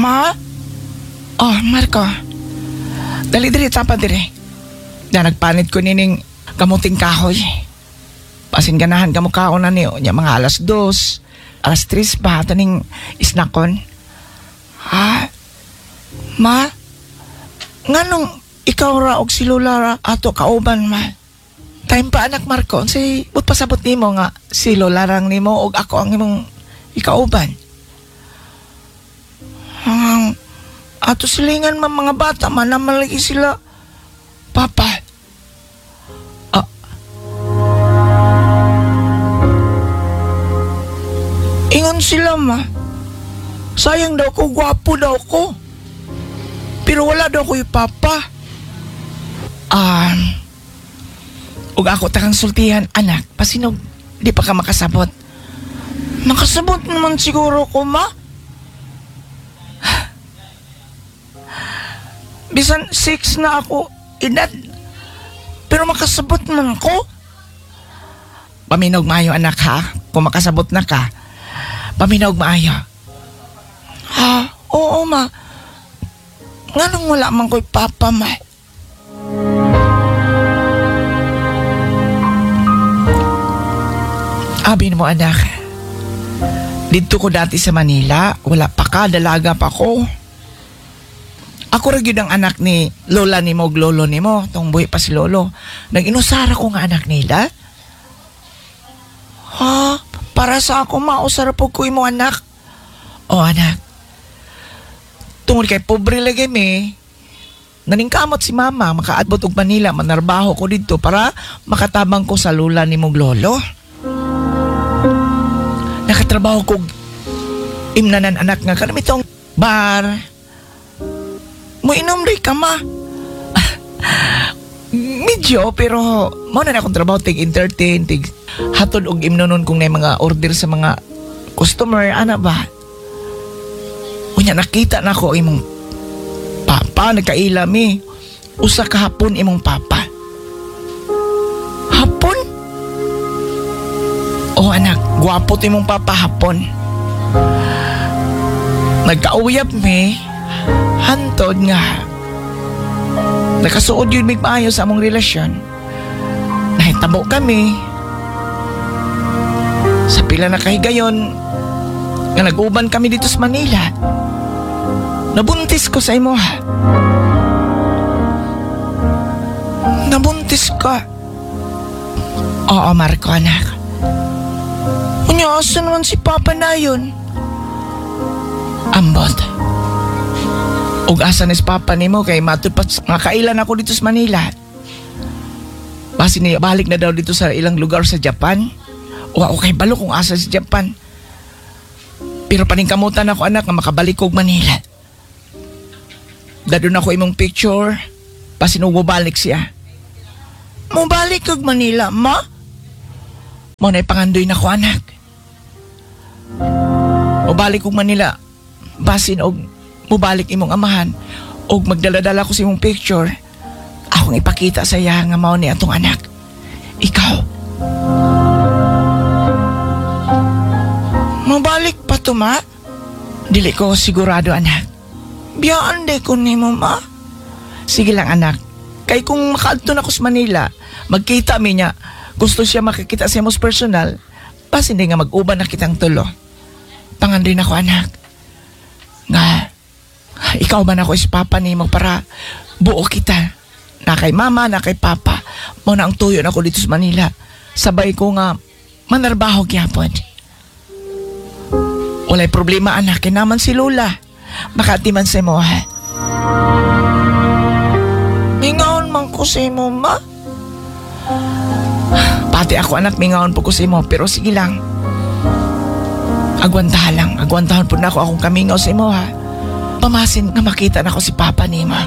Ma? Oh, Marco. Dali diri, tapa diri. Na nagpanit ko nining kamuting kahoy. Pasin ganahan ka mo kaon na niyo. Nya mga 2:00, 3:00 ba, taning isnakon. Ha? Ma? Nganong ikaw ra og si Lola ra ato kauban, ma? Time pa, anak Marco, si but pasabot nimo nga si Lola rang nimo og ako ang imong ikauban. Ang ato silingan man mga bata man naman lagi sila papa. Ah. Ingon sila ma. Sayang daw ko, gwapo daw ko. Pero wala daw ko'y papa. Ug ako takang sultihan, anak, pasinog, di pa ka makasabot. Makasabot naman siguro ko, ma. Bisan 6 na ako, edad. Pero makasabot man ko. Paminog maayo, anak, ha? Kung makasabot na ka, paminog maayo. Ha? Oo, ma. Nganong wala man ko'y papa, ma? Abi mo, anak. Dito ko dati sa Manila, wala pa ka, dalaga pa ko. Ako ra gyud ang anak ni lola ni mo, lolo ni mo, tong buhi pa si lolo. Nag-inusara ko nga anak nila. Ha? Para sa ako, mausara po ko imo, anak. O, anak. Tungod kay pobre lagi mi, naningkamot si mama, makaabot og Manila, manarbaho ko dito para makatabang ko sa lola ni mong lolo. Nakatrabaho ko imnanan, anak, nga kanamitong bar. Muinom rin ka, ma. Medyo, pero mao na akong trabaho, tig entertain, tig hatod og imnonon kung na mga order sa mga customer, ana ba? Unya, nakita na ako imong papa, nagkaila mi. Usa ka hapon imong papa. Hapon? Oh anak, gwapo to imong papa hapon. Nagkauyap mi, hantod nga. Nakasuod yun mig maayo sa among relasyon. Nahitabo kami. Sa pila na kahigayon, nga nag-uban kami dito sa Manila. Nabuntis ko sa imo. Nabuntis ka. Oo, Marco, anak. Unya, asa naman si Papa na yun? Ambot. Ug asa ni si Papa nimo kay matud pa nga kailan ako dito sa Manila. Basi niya balik na daw dito sa ilang lugar sa Japan. O ako kay balo kung asa sa Japan. Pero paningkamutan ako, anak, nga makabalik og Manila. Dadon ako imong picture. Basin og mobalik siya. Mobalik og Manila, ma? Mo na ipangandoy na ko, anak. Mobalik og Manila. Basin og mobalik imong amahan. Og magdala-dala ko sa imong picture. Akong ipakita sa iya nga mao ni atong anak. Ikaw. Mobalik pa to, ma? Dili ko sigurado, anak. Biyaan de ko nimo, ma. Sige lang, anak. Kay kung makaadto na ko sa Manila, magkita mi niya, gusto siya makikita sa imong personal, pas hindi nga mag-uban na kitang tulo. Pangandoy na ko, anak. Nga, ikaw man ako is papa nimo para buo kita. Na kay mama, na kay papa. Mao na ang tuyo na ko dito sa Manila. Sabay ko nga manarbaho gyapon. Walay problema, anak. Kaya naman si Lola. Makati man sa imo, ha? Mingaon man ko sa imo, ma. Pati ako, anak, mingaon po ko sa imo. Pero sige lang. Agwantahan lang. Agwantahan po na ako akong kamingaw sa imo, ha? Pamasin nga makita na ko si Papa ni ma.